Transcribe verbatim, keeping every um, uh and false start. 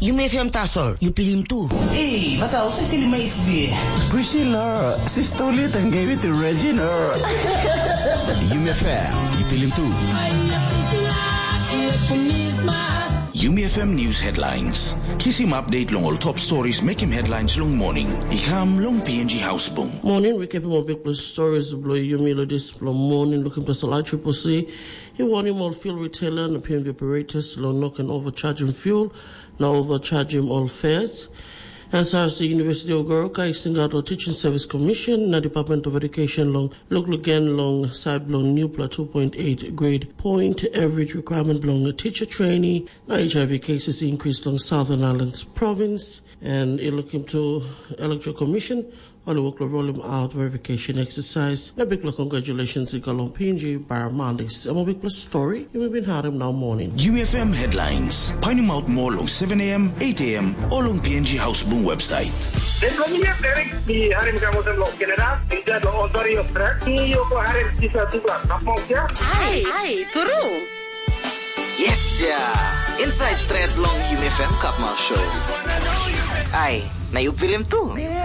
Yumi F M tasol, yu pilim tu. Ei, bata, husat stilim ais be? Priscilla, sister Lita and gave it to Regina. Yumi F M, yu pilim tu. Yumi F M News Headlines. Kisim update long ol top stories mekim headlines long morning. I kam long P N G House Bung. Morning, we keep more big stories below Yumi lo this below morning. Looking plus a light triple C. He warn him all fuel retailer and P N V operators lo no can overcharge him fuel. Na overcharge him all fares. As far as the University of Goroka, i singaut lo Teaching Service Commission na Department of Education long look again long side long new pla two point eight grade point average requirement belong a teacher trainee. Na H I V cases increase long Southern Islands province and i looking to Electoral Commission. Ol i wok long rolim out verification exercise. Na bikpela congratulations i go long P N G Baramalis. Em a bikpela story. Yumi bin harim nau morning. U F M headlines. Painim out more long seven a m, eight a m, o long P N G House Bung website. Em long mi ya Derek di harim kamosen long Canada, di dad long Ontario track. Ni yo ko harim kisa tu ba kapmok ya. Ai, ai, turu. Yes ya. Inside straight long U F M Kapmok Show. Ai, na yu pilim tu.